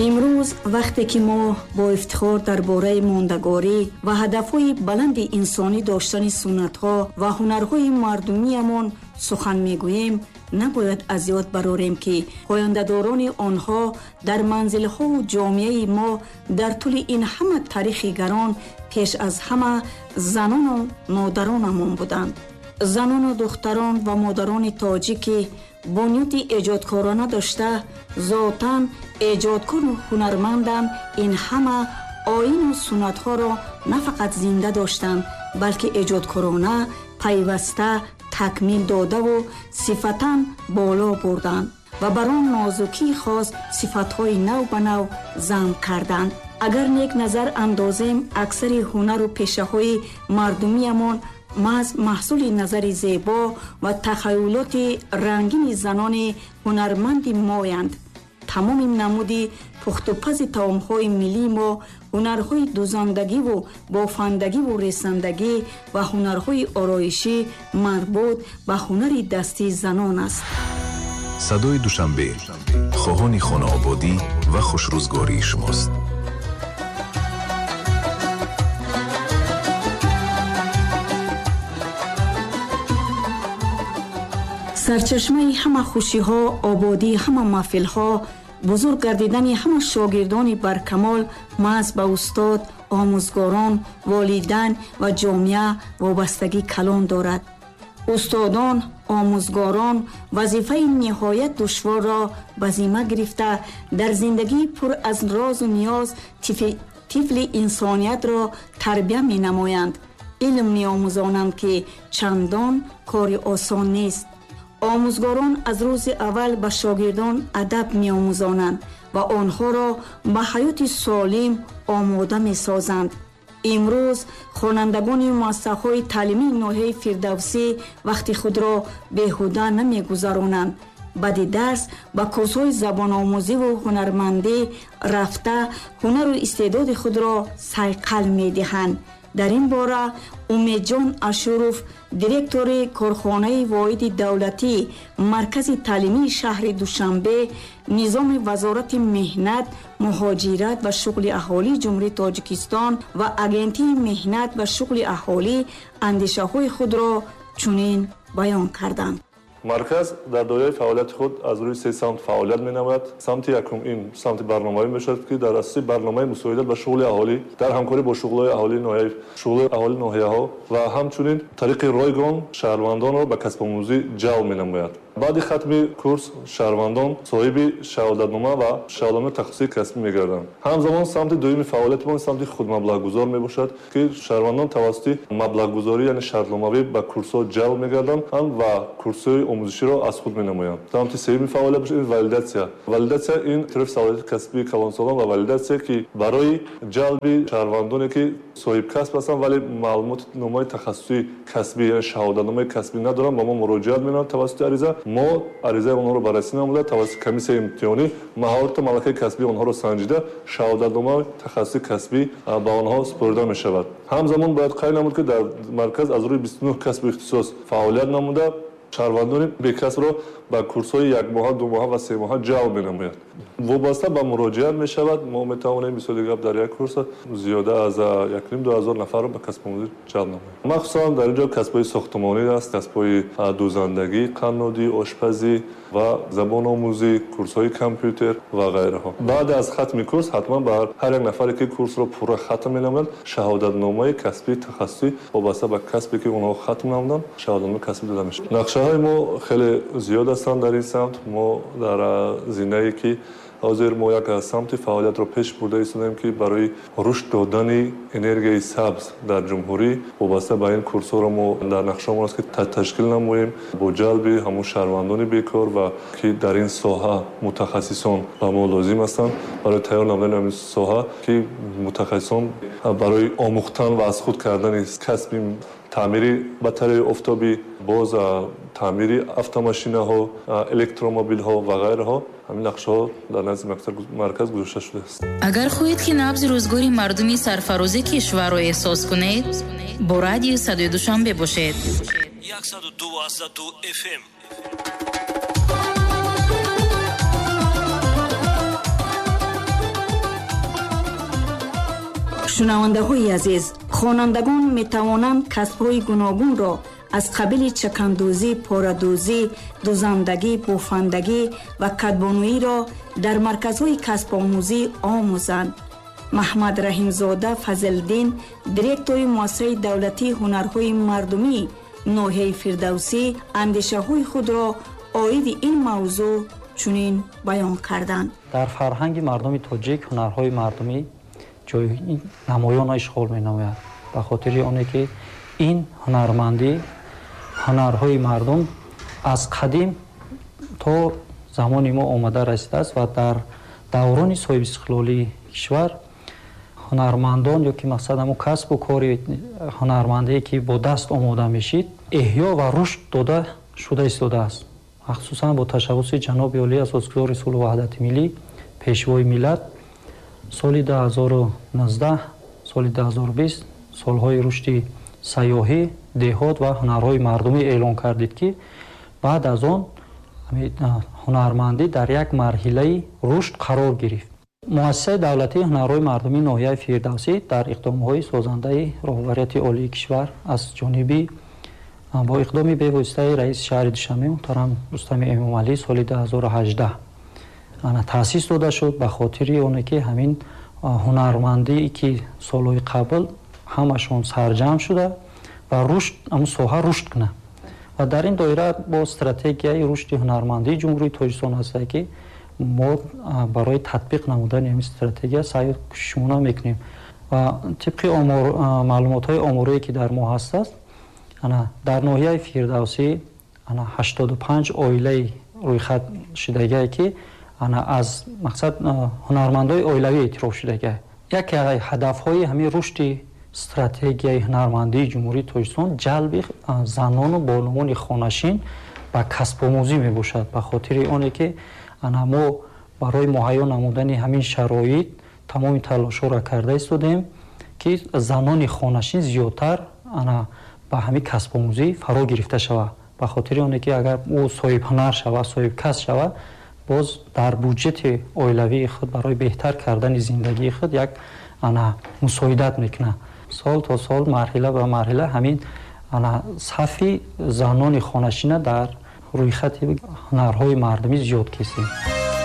Имрӯз вақте ки мо бо ифтихор дар бораи мондагорӣ ва ҳадафҳои баланди инсонӣ доштани суннатҳо ва ҳунарҳои мардумиямон сухан мегӯем, набояд аз ёд барорем, ки пояндадорони онҳо дар манзилҳову ҷомеаи мо дар тӯли ин ҳама таърихи гарон пеш аз ҳама занону модаронамон буданд. Занону духтарон ва модарони тоҷикӣ бунёди эҷодкорона дошта, зотан эҷодкору ҳунарманданд, ин ҳама оину суннатҳоро на фақат зинда доштанд, балки эҷодкорона пайваста такмил додаву сифатан боло бурданд ва бар он нозукии хос сифатҳои нав ба нав зам карданд. Агар нек назар андозем, аксари ҳунару пешаҳои мардумиямон маҳз маҳсули назари зебо ва тахаюлоти рангини занони ҳунарманди моянд. Тамоми намуди пухтупази таомҳои миллии мо, ҳунарҳои дузандагиву бофандагиву ресандагӣ ва ҳунарҳои ороишӣ марбут ба ҳунари дастии занон аст. Садои Душанбе хоҳони хонаободӣ ва хушрӯзгории шумост. Сарчашмаи ҳама хушиҳо, ободии ҳама маҳфилҳо, бузург гардидани ҳама шогирдони баркамол маҳз ба устод, омӯзгорон, волидайн ва ҷомеа вобастагӣ калон дорад. Устодон, омӯзгорон вазифаи ниҳоят душворро ба зимма гирифта, дар зиндагии пур аз розу ниёз тифли инсониятро тарбия менамоянд, илм меомӯзонанд, ки чандон кори осон нест. Омӯзгорон аз рӯзи аввал ба шогирдон адаб меомӯзонанд ва онҳоро ба ҳаёти солим омода месозанд. Имрӯз хонандагони муассисаҳои таълимии ноҳияи Фирдавсӣ вақти худро беҳуда намегузаронанд. Баъди дарс ба курсҳои забономӯзиву ҳунармандӣ рафта, ҳунару истеъдоди худро сайқал медиҳанд. Дар ин бора Умедҷон Ашуров, директори корхонаи воҳиди давлатӣ маркази таълимии шаҳри Душанбе, низоми Вазорати меҳнат, муҳоҷират ва шуғли аҳолии Ҷумҳурии Тоҷикистон ва Агентии меҳнат ва шуғли аҳолӣ андешаҳои худро чунин баён карданд. Марказ дар доираи фаъолияти худ аз рӯи се самт фаъолият менамояд. Самти якум ин самти барномавӣ мешавад, ки дар асоси барномаи мусоидат ба шуғли аҳолӣ дар ҳамкорӣ бо шуғлҳои аҳолии ноҳия, шуғлҳои аҳолии ноҳияҳо ва ҳамчунин тариқи ройгон шаҳрвандонро ба касбомӯзӣ ҷалб менамояд. Баъди хатми курс шаҳрвандон соҳиби шаҳодатнома ва шаҳодатномаи тахассусии касбӣ мегарданд. Ҳамзамон самти дуюми фаъолияти мо самти худмаблағгузор мебошад, ки шаҳрвандон тавассути маблағгузорӣ, яъне шартномавӣ, ба курсҳо ҷалб мегарданд ва курсҳои омӯзиширо аз худ менамоянд. Самти сеюми фаъолият бошад ин валидатсия. Валидатсия ин эътирофи салоҳияти касбии калонсолон ва валидатсия, ки барои ҷалби шаҳрвандоне, ки соҳибкасб ҳастанд, вале маълумотномаи тахассусии касбӣ, яъне шаҳодатномаи касбӣ надоранд, ба мо муроҷиат менамоянд тавассути ариза. Мо аризаи онҳоро баррасӣ намуда, тавассути комиссияи имтиҳонӣ маҳорату малакаи касбии онҳоро санҷида, шаҳодатномаи тахассусии касбӣ ба онҳо супорида мешавад. Ҳамзамон бояд қайд намуд, ки дар марказ аз рӯи 29 касбу ихтисос фаъолият намуда, шаҳрвандони бекасбро ба курсҳои якмоҳа, думоҳа ва семоҳа ҷалб менамояд. Вобаста ба муроҷиат мешавад, мо метавонем, мисоли гап, дар як курс зиёда аз 1,5-2 ҳазор нафарро ба касбомӯзӣ ҷалб намоем. Махсусан дар ин ҷо касбҳои сохтмонӣ аст, касбҳои дӯзандагӣ, қаннодӣ, ошпазӣ ва забономӯзӣ, курсҳои компютер ва ғайраҳо. Баъд аз хатми курс ҳатман ба ҳар як нафаре, ки курсро пурра хатм менамояд, шаҳодатномаи касбии тахассусӣ вобаста ба касбе, ки онҳо хатм намуданд, шаҳодатномаи касбӣ дода мешавад. Нақшаҳои мо хеле зиёд ҳастанд дар ин самт. Мо дар зинае, ки ҳозир мо як самти фаъолиятро пеш бурда истодаем, ки барои рушд додани энергияи сабз дар ҷумҳурӣ вобаста ба ин курсҳоро мо дар нақшаамон аст, ки ташкил намоем бо ҷалби ҳамун шаҳрвандони бекор ва ки дар ин соҳа мутахассисон ба мо лозим ҳастанд, барои тайёр намудани ҳамин соҳа, ки мутахассисон барои омӯхтан ва аз худ кардани касби таъмири батареяи офтобӣ, боз таъмири автомошинаҳо, электромобилҳо ва ғайраҳо, ҳамин нақшаҳо дар назди марказ гузошта шудааст. Агар хоҳед, ки набзи рӯзгори мардуми сарфарози кишварро эҳсос кунед, бо радиои Садои Душанбе бошед. 102,2 FM. Шунавандаҳои азиз, хонандагон метавонанд касбҳои гуногунро аз қабили чакандӯзӣ, порадӯзӣ, дузандагӣ, бофандагӣ ва кадбонуиро дар марказҳои касбомӯзӣ омӯзанд. Маҳмад Раҳимзода Фазлиддин, директори муассисаи давлатии ҳунарҳои мардумии ноҳияи Фирдавсӣ, андешаҳои худро оиди ин мавзӯъ чунин баён карданд. Дар фарҳанги мардуми тоҷик ҳунарҳои мардумӣ ҷои намоёнро ишғол менамояд, ба хотири оне ки ин ҳунармандӣ, ҳунарҳои мардум аз қадим то замони мо омада расидааст ва дар даврони соҳибистиқлолии кишвар ҳунармандон ё ки мақсад ҳамун касбу кори ҳунармандие ки бо даст омода мешид, эҳё ва рушд дода шуда истодааст. Махсусан бо ташаббуси ҷаноби олӣ, асосгузори сулҳу ваҳдати миллӣ, пешвои миллат, соли 2019, соли 2020 солҳои рушди сайёҳӣ, деҳот ва ҳунарҳои мардумӣ эълон кардид, ки баъд аз он ҳунармандӣ дар як марҳилаи рушд қарор гирифт. Муассисаи давлатии ҳунарҳои мардумии ноҳияи Фирдавсӣ дар иқдомҳои созандаи роҳбарияти олии кишвар аз ҷониби бо иқдоми бевоситаи раиси шаҳри Душанбе муҳтарам Рустами Эмомалӣ соли 2018 таъсис дода шуд, ба хотири оне ки ҳамин ҳунармандие ки солҳои қабл ҳамашон сарҷамъ шуда ва рушд, ҳамун соҳа рушд кунад. Ва дар ин доира бо стратегияи рушди ҳунармандии Ҷумҳурии Тоҷикистон ҳастае, ки мо барои татбиқ намудани ҳамин стратегия саъю кӯшишмона мекунем. Ва тибқи маълумотҳои оморие ки дар мо ҳастааст, дар ноҳияи Фирдавсӣ 85 оилаи рӯйхат шудагие, ки аз мақсад ҳунармандои оилавӣ эътироф шудагие. Яке аз ҳадафҳои ҳамин рушди стратегияи ҳунармандии Ҷумҳурии Тоҷикистон ҷалби занону бонувони хонашин ба касбомӯзӣ мебошад, ба хотири оне ки мо барои муҳайё намудани ҳамин шароит тамоми талошҳоро карда истодем, ки занони хонашин зиёдтар ба ҳамин касбомӯзӣ фаро гирифта шавад, ба хотири оне ки агар ӯ соҳибҳунар шавад, соҳибкасб шавад, боз дар буҷети оилавии худ барои беҳтар кардани зиндагии худ як мусоидат мекунад. Сол то сол, марҳила ба марҳила ҳамин сафи занони хонашина дар рӯйхати ҳунарҳои мардумӣ зиёд кесем.